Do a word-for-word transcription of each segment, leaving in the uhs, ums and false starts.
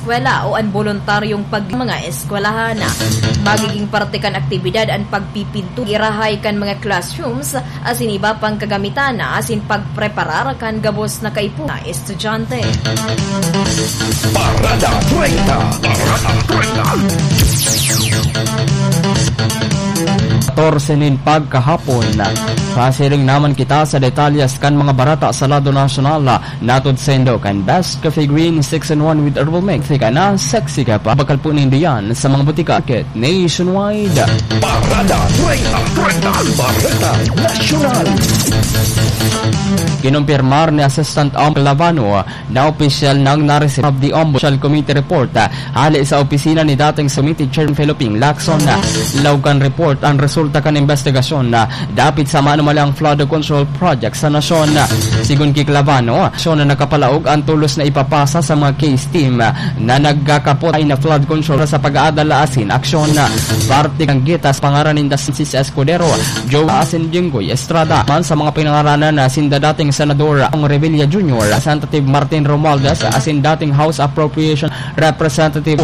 eskwela o an boluntaryong pag-, mga eskwelahan. Magiging parte kan aktibidad an pagpipinto, irahay kan mga classrooms, asin iba pang kagamitan, asin pagpreparar kan gabos na kaipuhan na estudyante. Parada treinta. Parada treinta. Katorse nin pagkahapon. Pasiring naman kita sa detalyes kan mga barata sa lado nasyonal. Natod saindo kan Best Coffee Green six in one with Herbal Mix. Ika na, sexy ka pa. Bakal po nindo yan sa mga butika nationwide. Parada treinta, treinta, Bareta Nasyonal. Kinumpirmar ni Assistant Ombudsman Clavano na opisyal nang na-receive the Ombudsman Committee Report, ah, hali sa opisina ni dating Committee Chairman Feloping Lacson. Laog kan report, ang resulta kan investigasyon na dapit sa manumalyang flood control project sa nasyon. Sigon ki Clavano, nasyon na nakapalaog ang tulos na ipapasa sa mga case team na nagkakapot ay na flood control sa pag-aadal asin aksyon. Parte kan gitas pangaran ninda Francis Escudero, Joe asin Jinggoy Estrada. Man sa mga pinangaranan na sinda dating Senador Ong Revilla Junior, Representative Martin Romualdez, asin dating House Appropriation Representative.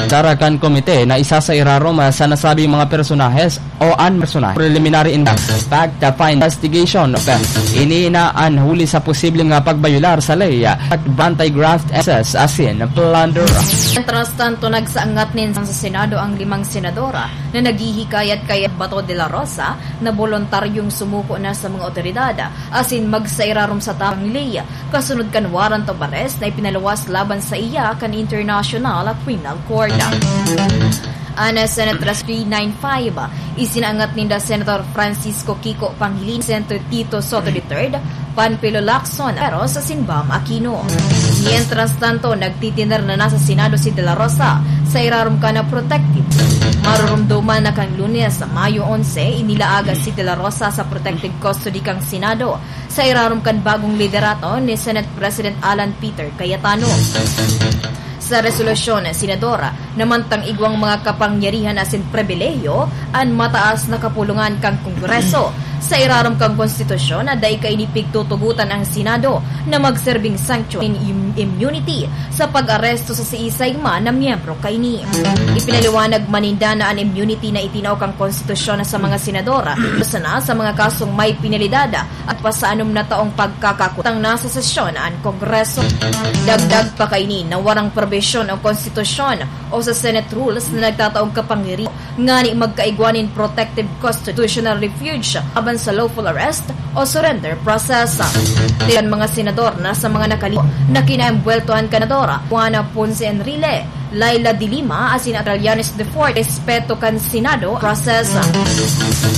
Dara kan komite na isa sa irarom sa nasabing mga personahes o an personahe. Preliminary in fact, the fine investigation. Ini na an huli sa posibleng, ah, pagbayular sa ley at anti-graft access asin plunder. Mientras tanto, nagsaangat nin sa Senado ang limang senadora na naghihikayat kay Bato de la Rosa na boluntaryong sumuko na sa mga otoridad asin magsairarom sa tapang ley kasunod kan warrant of arrest na ipinaluwas laban sa iya kan International Criminal Court. An Senate Rule three nine five, isinaangat ninda Senator Francisco Kiko Pangilinan, Senator Tito Soto the third, Panfilo Lacson, pero sa Sinbam Aquino. Mientras tanto, nagtitiner na nasa Senado si De La Rosa sa irarom kan protective. Marurumduman na kan Lunes, Mayo onse, inilaag si De La Rosa sa protective custody kan Senado sa irarom kan bagong liderato ni Senate President Alan Peter Cayetano. Sa resolusyon, Senador, na mantang igwang mga kapangyarihan asin pribilehiyo an mataas na kapulungan kan Kongreso. Sa irarom kan Konstitusyon, na dai kaini pigtutugotan ang Senado na magserbing sanction in im-, immunity sa pag-aresto sa siisay man na miyembro kaini. Ipinaliwanag man ninda na an immunity na itinao kan Konstitusyon sa mga senador, sana sa mga kasong may penalidad at pasaanom na taong pagkakakutang na sa sesyon an Kongreso. Dagdag pa kaini na warang probisyon o konstitusyon o sa Senate rules na nagtataong kapangyarihan ngani magkaigwa nin protective constitutional refuge laban sa lawful arrest o surrender process. Tiran mga senador na sa mga nakali na kinaembweltohan kan Senadora Juana Ponce Enrile, Leila de Lima asin Trillanes the fourth, respeto kan Senado process.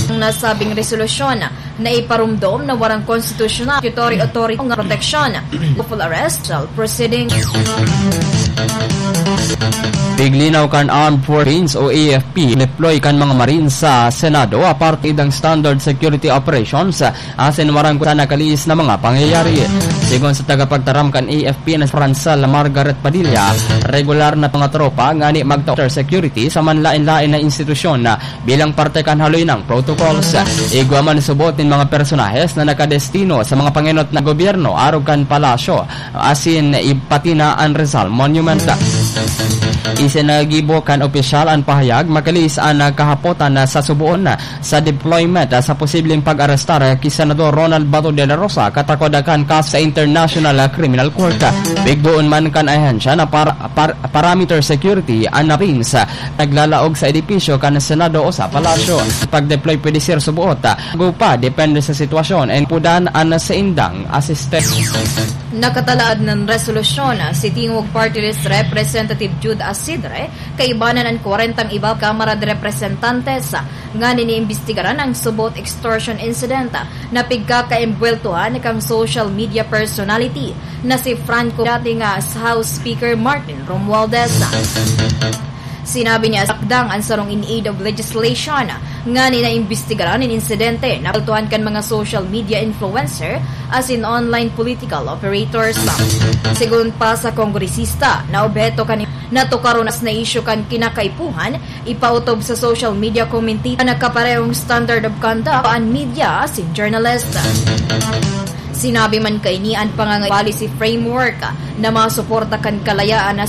Ang nasabing resolusyon na iparumdom na warang konstitusyonal statutory authority nga proteksyon, lawful arrest, trial proceeding. Piglinaw kan Armed Forces o A F P, deploy kan mga Marines sa Senado, aparte idang standard security operations, asin warang kusa nakalihis na mga pangyayari. Sigon sa tagapagtaram kan A F P na si Francel Margaret Padilla, regular na mga tropa ngani magta-, security sa manlain-lain na institusyon na bilang parte kan haloy na protocols. Igwa man subot nin mga personahes na nakadestino sa mga pangenot na gobyerno arog kan palasyo, asin i-, pati na an Rizal Monument. Isinagibo kan opisyal an pahayag, makalihis an kahapotan na sa suboon na sa deployment, ah, sa posibleng pag-arestar, ah, ki Senador Ronald Bato de la Rosa, katakod, ah, kan kaso sa International, ah, Criminal Court. Bigboon man kan ahensya na par-, par-, parameter security an Marines, ah, naglalaog sa edipisyo kan Senado o sa Palasyo. Pag-deploy pwede ser subuot, ah, bago pa, depende sa sitwasyon, and pudan an saindang asistensya. Nakatalaad nin resolusyon, ah, si Tingog Party List Representative Jude Asidre, kaibanan an kwarentang iba Kamara de Representantes, ah, nganing iimbestigaran ang subot extortion incident, ah, na pigkakaembweltohan kan social media personality na si Franco, dating, ah, House Speaker Martin Romualdez. Sinabi niya, sakdang an sarong in aid of legislation, ah, nganing naimbestigaran nin insidente na embweltohan kan mga social media influencer asin online political operators. Sigon pa sa kongresista na obheto kan natukaron na isyu kan kinakaipuhan, ipautob sa social media commentator na kaparehong standard of conduct an media asin journalist. Sinabi man kaini an pangangay policy framework na masuporta kan kalayaan na